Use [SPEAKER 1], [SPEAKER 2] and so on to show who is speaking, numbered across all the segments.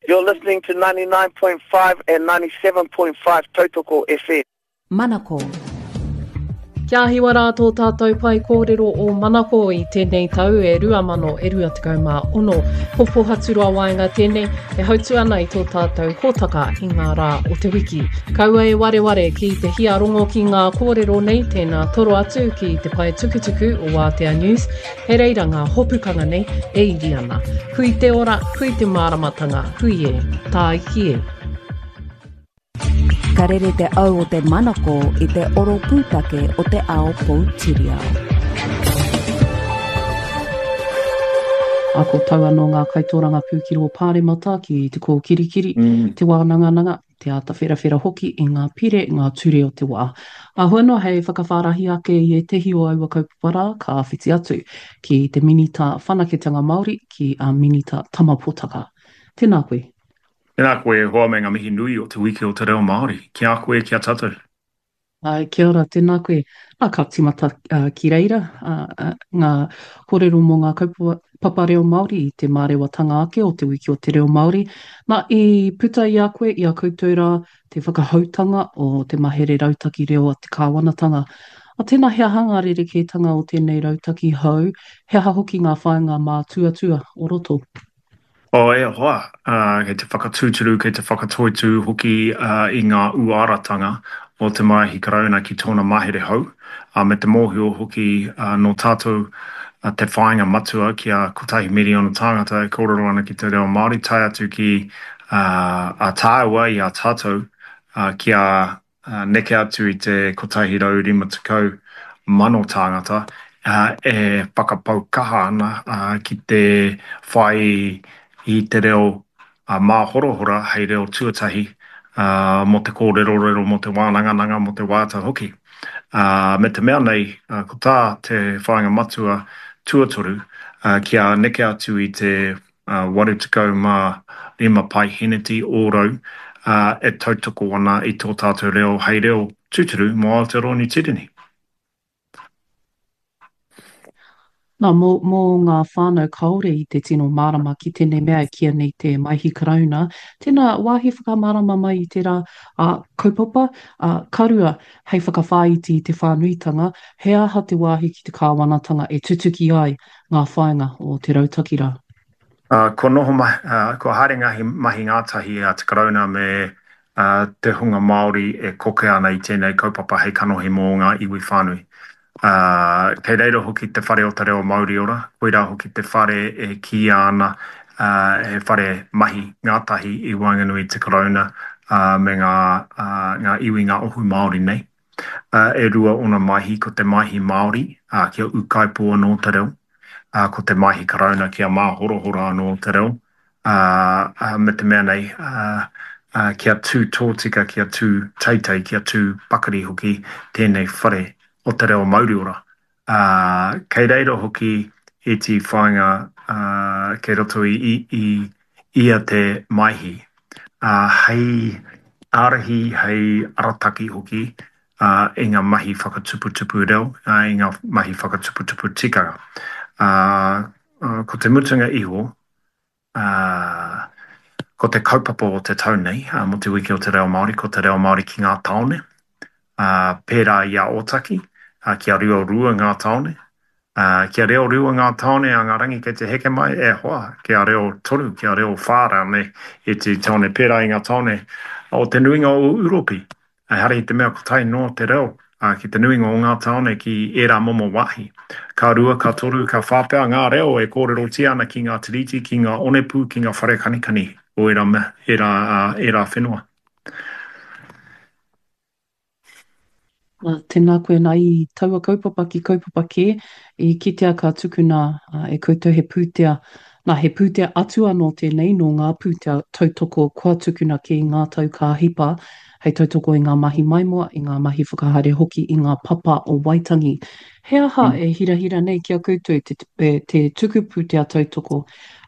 [SPEAKER 1] You're listening to 99.5 and 97.5 Tautoko FM.
[SPEAKER 2] Manako.
[SPEAKER 3] Kia hiwa rā tō tātou pae kōrero o Manako i tēnei tau e 2026. Ko Pohaturoa Waenga tēnei e hautu ana i tō tātou hōtaka i ngā rā o te wiki. Kaua e wareware ki te hia rongo ki ngā kōrero nei, tēnā toro atu ki te pae tukutuku o Wātea News, He reira ngā hopukanga nei e iri ana. Hui te ora, hui te māramatanga, hui e, tāiki e.
[SPEAKER 2] Ka rere te au o te manako i te oro pūtake o te ao poutiriao.
[SPEAKER 3] Ā, ko tau anō ngā kaitōrangapū ki rō Pāremata ki te kōkirikiri, te wānangananga, te āta wherawhera hoki i ngā pire, ngā ture o te wā. Āhua noa hei whakawhārahi ake i ētehi o aua kaupapa rā, ka whiti atu ki te Minita Whanaketanga Māori, ki a Minita Tama Potaka. Tēnā koe.
[SPEAKER 4] Tēnā koe e hoa me ngā mihi nui o Te Wiki o te Reo Māori. Ki a koe, ki a tātou.
[SPEAKER 3] Āe, kia ora, tēnā koe. Nā, ka tīmata ki reira ngā kōrero mō ngā kaupapa reo Māori i te mārewatanga ake o Te Wiki o te Reo Māori. Nā, i puta i a koe, i a koutou rā, te whakahoutanga o te mahere rautaki reo a te kāwanatanga. A tēnā, he aha ngā rerekētanga o tēnei rautaki hou, he aha hoki ngā whāinga mātuatua o roto?
[SPEAKER 4] Oh, e hoa, kei te whakatūturu, kei te whakatoitū hoki i ngā uaratanga o te Maihi Karauna ki tōna mahere hou, me te mōhio hoki nō tātou te whāinga matua kia kotahi miriona tāngata e kōrero ana ki te reo Māori, tae atu ki a tāua i a tātou kia neke atu i te 150,000 tāngata e whakapau kaha ana ki te whai i te reo māhorahora hei reo tuatahi mō te kōrerorero, mō te wānangananga, mō te waiata hoki. Me te mea nei, ko tā te whāinga matua tuatoru kia neke atu i te 85 paeheneti ōrau e tautoko ana i tō tātou reo hei reo tūturu mō Aotearoa Niu Tīreni.
[SPEAKER 3] Nā, mō, mō ngā whānau kāore i te tino mārama ki tēnei mea e kīia nei te Maihi Karauna, tēnā wāhi whakamārama mai i tērā ā, kaupapa, ā, ka rua, hei whakawhāiti i te whānuitanga, he aha te wāhi ki te kāwanatanga e tutuki ai ngā whāinga o te rautaki rā.
[SPEAKER 4] Kua noho, kua haere ngā mahi ngātahi a te Karauna me te hunga Māori e koke ana i tēnei kaupapa hei kanohi mō ngā iwi whānui. Kei reira hoki te Whare o te Reo Mauriora, koirā hoki te whare e kīia ana he whare mahi ngātahi i waenganui i te Karauna me ngā iwi, ngā ohu Māori nei. E rua ōna maihi, ko te maihi Māori, ā, kia ūkaipō anō te reo, ā, ko te maihi Karauna kia māhorahora anō te reo, ā, ā, me te mea nei, ā, ā, kia tū tōtika, kia tū teitei, kia tū pakari hoki tēnei whare o te reo mauriora. Ā, kei reira hoki ētehi whāinga, ā, kei roto i, i, i ia te maihi, ā, hei ārahi, hei arataki hoki, ā, i ngā mahi whakatuputupu reo, ā, i ngā mahi whakatuputupu tikanga. Ā, ko te mutunga iho, Ā, ko te kaupapa o te tau nei, ā, mō te Wiki o te Reo Māori, ko te reo Māori ki ngā tāone, ā, pērā i a Ōtaki, ā, kia reorua ngā tāone, ā, kia reorua ngā tāone a ngā rangi kei te heke mai, e hoa, kia reo toru, kia reo whā rānei ētehi tāone, pērā i ngā tāone o te nuinga o Ūropi. Ehara i te mea kotahi noa te reo ki te nuinga o ngā tāone ki ērā momo wāhi. Ka rua, ka toru, ka whā pea ngā reo e kōrerotia ana ki ngā tiriti, ki ngā onepū, ki ngā whare kanikani o ērā, ērā, ērā whenua.
[SPEAKER 3] Nā, tēnā koe nā i taua kaupapa ki kaupapa kē, i kitea ka tukuna e koutou he pūtea, nā he pūtea atu anō tēnei nō ngā pūtea tautoko kua tukuna kē i ngā tau ka hipa hei tautoko i ngā mahi maimoa, i ngā mahi whakahaere hoki i ngā papa o Waitangi. He aha e hirahira nei ki a koutou te, te tuku pūtea tautoko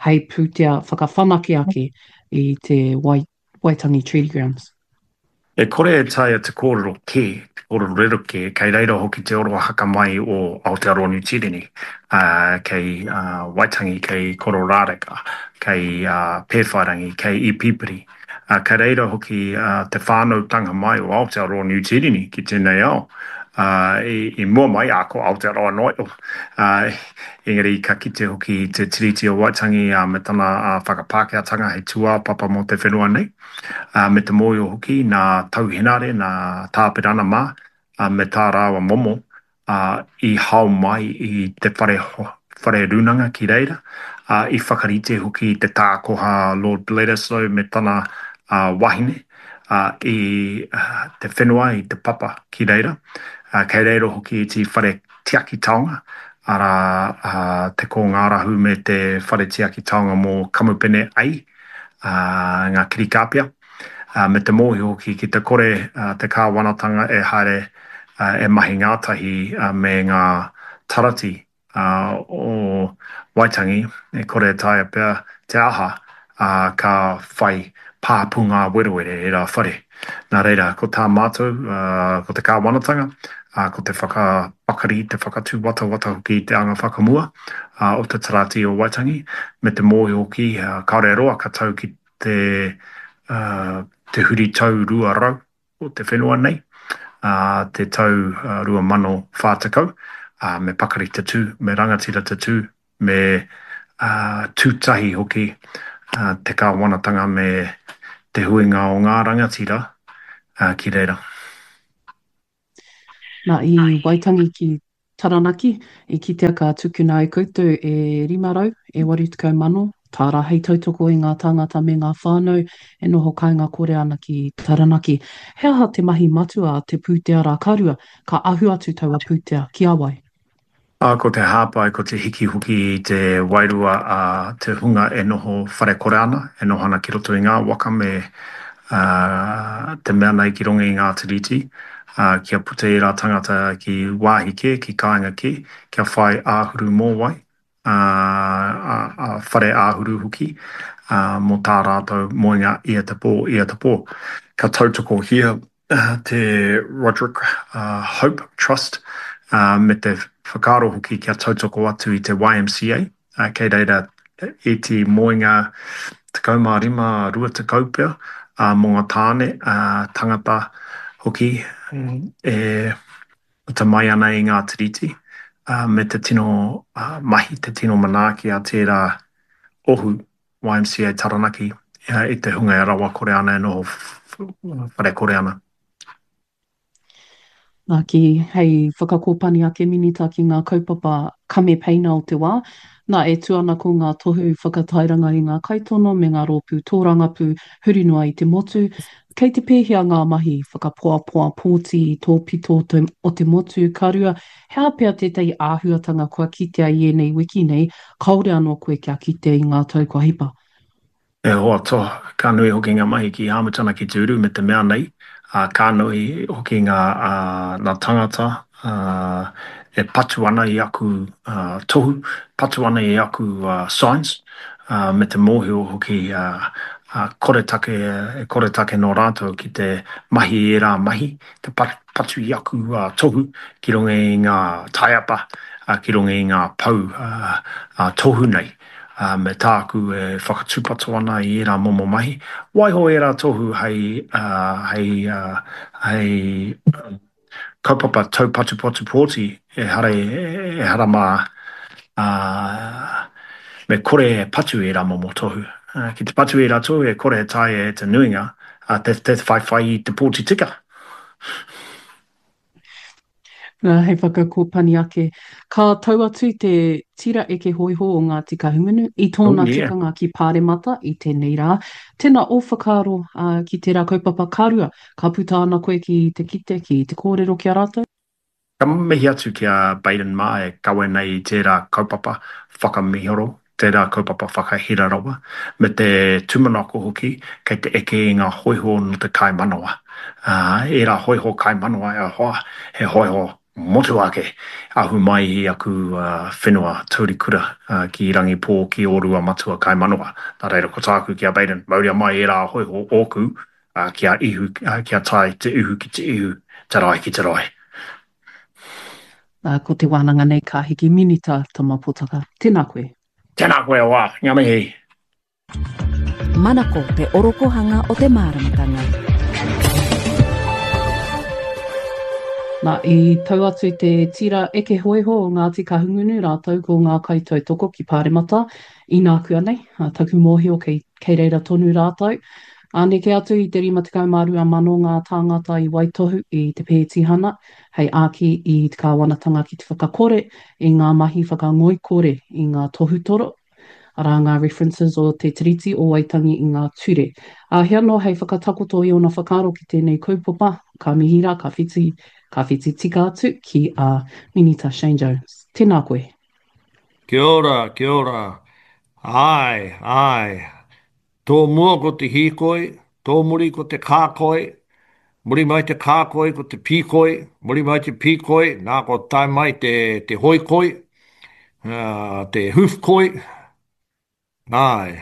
[SPEAKER 3] hei pūtea whakawhanake ake i te Waitangi Treaty Grounds?
[SPEAKER 4] E kore e taea te kōrero kē, te kōrero rerekē, kei reira hoki te orohaka mai o Aotearoa Niu Tīreni, kei Waitangi, kei Kororāreka, kei Pēwhairangi, kei Ipipiri. Kei reira hoki te whānautanga mai o Aotearoa Niu Tīreni ki tēnei ao. I mua mai, ā, ko Aotearoa noa iho, engari ka kite hoki i te Tiriti o Waitangi me tana whakapākehātanga hei tūāpapa mō te whenua nei. ā, me te mōhio hoki nā Tau Henare, nā Tāpirana mā, ā, me tā rāua momo, ā, i hao mai i te whare, whare rūnanga ki reira, ā, i whakarite hoki i te tākoha Lord Bledisloe me tana, ā, wahine, ā, i te whenua, i te papa ki reira. Ā, kei reira hoki ētehi whare tiaki taonga, arā, ā, te Kōngārahu me te whare tiaki taonga mō Kamupene A, ngā kirikāpia, me te mōhio hoki ki te kore te kāwanatanga e haere e mahi ngātahi me ngā tarati o Waitangi, e kore e taea pea te aha ka whai pāpū ngāwerewere ērā whare. Nā reira, ko tā mātou, ko te kāwanatanga, ko te whakapakari, te whakatūwatawata hoki i te anga whakamua o te Tarati o Waitangi, me te mōhio hoki, kāore e roa ka tau ki te, te huri tau 200 o te whenua nei, te tau 2040, me pakari te tū, me rangatira te tū, me tū tahi hoki te kāwanatanga me te huinga o ngā rangatira ki reira.
[SPEAKER 3] Nā, i Waitangi ki Taranaki, i kitea ka tukuna e koutou e 500, e 80 mano tāra hei tautoko i ngā tāngata me ngā whānau e noho kāinga kore ana ki Taranaki. He aha te mahi matua a te pūtea rā ka rua, ka ahu atu taua pūtea ki a wai?
[SPEAKER 4] Ā, ko te hāpai, ko te hiki hoki i te wairua a te hunga e noho whare kore ana, e noho ana ki roto i ngā waka me te mea nei ki runga i ngā tiriti, ā, kia puta ērā tangata ki wāhi kē, ki kāinga kē, kia whai āhuru mōwai, ā, ā, whare āhuru hoki, ā, mō tā rātou moenga ia te pō, ia te pō. Ka tautokohia te Roderick Hope Trust me te whakaaro hoki kia tautoko atu i te YMCA, kei reira ētehi moenga 15, 20 pea mō ngā tāne, tangata hoki e puta mai ana i ngā tiriti me te tino mahi, te tino manaaki a tērā ohu YMCA Taranaki i te hunga e rawakore ana, e noho wharekore ana.
[SPEAKER 3] Nā, ki, hei whakakōpani ake Minita ki ngā kaupapa kamepeina o te wā, nā, e tū ana ko ngā tohu whakatairanga i ngā kaitono me ngā rōpū tōrangapū huri noa i te motu. Kei te pēhea ngā mahi whakapoapoa pōti i tō pito o te motu? Ka rua, He aha pea tētahi āhuatanga kua kitea i ēnei wiki nei, kāore anō koe kia kite i ngā tau kua hipa?
[SPEAKER 4] E hoa toa, ka nui hoki ngā mahi ki Āmitana ki te uru me te mea nei, ā, ka nui hoki ngā, ā, ngā tangata, ā, e patu ana i aku, ā, tohu, patu ana i aku, ā, signs, ā, me te mōhio hoki, ā, ā, koretake, e koretake nō rātou ki te mahi i ērā mahi, te patu i aku tohu ki runga i ngā taiapa, ki runga i ngā pou tohu nei, me tāku e whakatūpato ana i ērā momo mahi. Waiho ērā tohu hei, hei, hei kaupapa taupatupatu pōti, ehara, ehara mā, me kore e patu ērā momo tohu. Ki te patu ērā tohu e kore e taea e te nuinga te, te whaiwhai i te pōti tika.
[SPEAKER 3] Nā, hei whakakōpani ake, ka tau atu te tira eke hōiho o Ngāti Kahungunu i tōna oh, yeah. tukanga ki Pāremata i tēnei rā. Tēnā ō whakaaro uh, ki tērā kaupapa ka rua, ka puta ana koe ki te kite, ki te kōrero ki a rātou?
[SPEAKER 4] Ka mihi atu ki a Baden mā e kawe nei i tērā kaupapa whakamihoro, tērā kaupapa whakahira rawa, me te tūmanako hoki kei te eke i ngā hōiho nō te kaimanawa. Ā, ērā hōiho kaimanawa e hoa, he hōiho motuhake ahu mai i aku whenua taurikura ki Rangipō, ki Ōruamatua kaimanawa. Nā reira, ko tāku ki a Baden, mauria mai ērā hōiho ōku, kia ihu, kia tae te ihu ki te ihu, te rae ki te rae.
[SPEAKER 3] Nā, ko te wānanga nei ka hiki Minita Tama Potaka. Tēnā koe.
[SPEAKER 4] Tēnā koe, Wā. Ngā mihi.
[SPEAKER 2] Manako te orokohanga o te māramatanga.
[SPEAKER 3] Nā, i tau atu te tira eke hōiho o Ngāti Kahungunu rātou ko ngā kaitautoko ki Pāremata inākuanei, taku mōhio kei, kei reira tonu rātou. Ā, neke atu i te 52,000 ngā tāngata i waitohu i te pētihana hei āki i te kāwanatanga ki te whakakore i ngā mahi whakangoikore i ngā tohutoro, arā ngā references o te Tiriti o Waitangi i ngā ture. Ā, he anō hei whakatakoto i ōna whakaaro ki tēnei kaupapa, ka mihi rā, ka whiti, ka whiti tika atu ki a Minita Shane Jones. Tēnā koe.
[SPEAKER 5] Kia ora, kia ora. Āe, āe. Tō mua ko te hīkoi, tō muri ko te kākoi, muri mai te kākoi ko te pīkoi, muri mai te pīkoi, nā kua tae mai te, te hoikoi, te hoofkoi. Āe,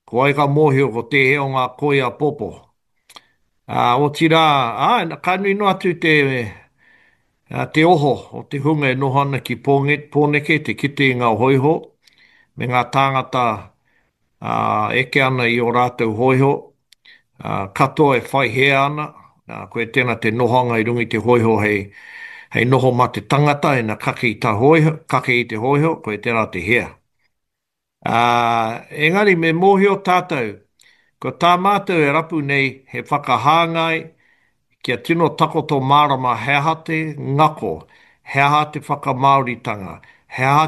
[SPEAKER 5] ko wai ka mōhio ko tēhea o ngā koi a Popo. Ā, otirā, āe, ka nui noa atu te, te oho o te hunga e noho ana ki Pōneke, te kite i ngā hōiho me ngā tāngata ā, eke ana i ō rātou hōiho, ā, katoa e whai hē ana, ā, koia tēnā te nohoanga i runga i te hōiho hei, hei noho mā te tangata ina kake i tā hōiho, kake i te hōiho, koia tērā te hea. Ā, engari me mōhio tātou, ko tā mātou e rapu nei he whakahāngai kia tino takoto mārama he aha te ngako, he aha te whakamāoritanga, he aha.